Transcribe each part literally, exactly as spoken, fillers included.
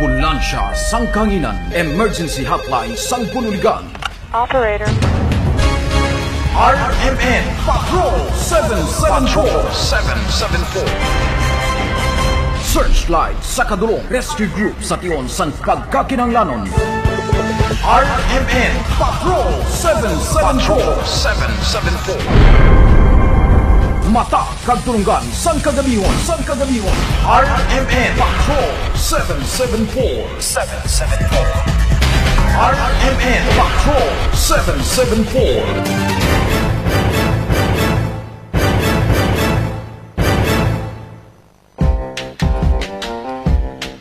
Ambulansya sang Kahanginan, emergency hotline sang Bunuligan. Operator. R M N Patrol seven seven four. Seven seven four. Searchlight sa kadulong, rescue group sa tion sang pagkakinahanglanon. R M N Patrol seven seven four. Seven seven four. Mata kag tulunggan sang kagabihon, sang kagabihon. R M N Patrol seven seven four. Seven seven four. R M N Patrol seven seven four.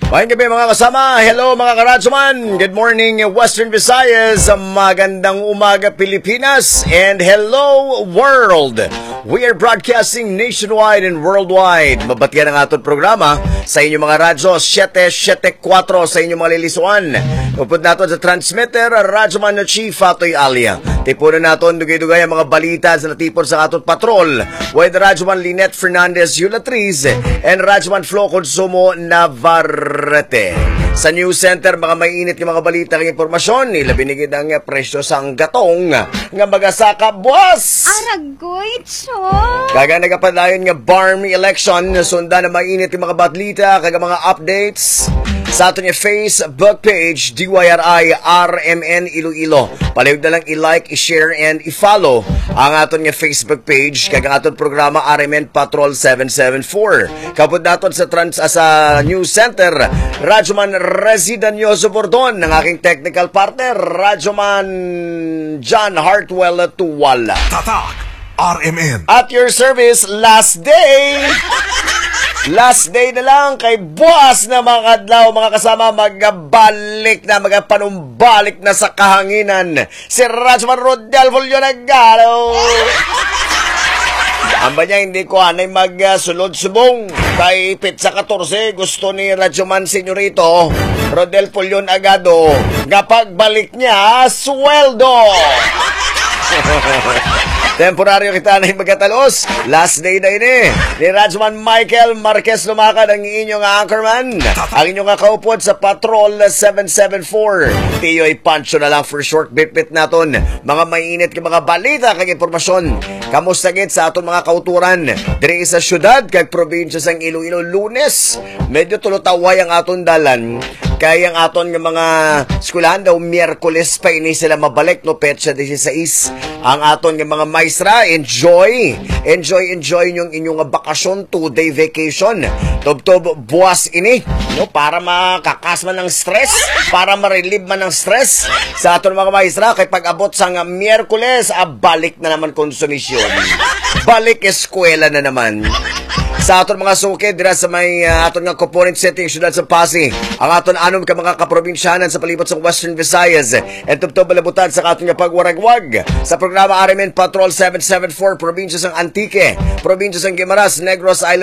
Maayong gabi, mga kasama. Hello, mga karadyoman. Good morning, Western Visayas. Magandang umaga, Pilipinas. And hello, world. We are broadcasting nationwide and worldwide. Mabatian ang aton programa sa inyong mga radyo, siyete siyete kwatro sa inyong mga lilisuan. Upod naton sa transmitter, Radyoman Chief Fatoy Alia. Tipunon naton dugay-dugay ang mga balita sa natipon sa aton patrol. With Radyoman Lynette Fernandez Yulatriz and Radyoman Flo Consumo Navarrete. Sa News Center, mga mainit nga mga balita kag impormasyon, ilabi na gid ang presyo sang gatong nga magasaka buwas. Aragoy, Cho! Kag ang nagapadayon nga BARMM election, sundan ang mainit nga mga balita kag ang mga updates sa aton nga Facebook page, D Y R I R M N Iloilo. Palihog na lang i-like, i-share, and i-follow ang aton nga Facebook page kag ang aton programa R M N Patrol seven seven four. Kapod naton sa trans-, ah, sa News Center, Radyoman Residanioso Bordon, ang aking technical partner, Radyoman John Hartwell Tuwala. Tatak R M N. At your service, last day. Last day na lang kay buwas na, mga kadlaw, mga kasama, magabalik na, magapanumbalik na sa kahanginan si Radyoman Rodel Fulio Nagalo. Amba niya, hindi ko anay mag, ah, sulod subong. Kay petsa katorse, gusto ni Radyoman Senyorito Rodel Pulion Agado nga pagbalik niya sweldo. Temporaryo kita na magkatalos. Last day na ini ni Radyoman Michael Marquez Lumacan, ang inyong anchorman, ang inyong kaupod sa Patrol seven seven four. Tiyoy Pancho na lang for short. Bitbit naton mga mainit nga mga balita kag impormasyon. Kamusta gid sa aton mga kauturan diri sa syudad kag probinsya sang Iloilo? Lunes, medyo tulutaway ang aton dalan. Kay ang aton nga mga eskwelahan daw, Miyerkules pa ini sila mabalik, no, petsa dieciséis. Ang aton nga mga maestra, enjoy, enjoy, enjoy yung inyong bakasyon, two-day vacation. Tubtob buwas ini, no, para makakas man ang stress, para ma-relieve man ang stress sa aton mga maestra. Kay pag-abot sang Miyerkules, ah, balik na naman konsumisyon. Balik eskwela na naman. Sa aton mga suki dira sa may, ah, aton nga component city, siyudad sa Passi, ang aton anom ka mga kaprobinsyanan sa palibot sa Western Visayas, and tubtob malabutan sa aton nga pagwaragwag sa programa R M N Patrol seven seven four, probinsya sang Antique, probinsya sang Guimaras, Negros Island,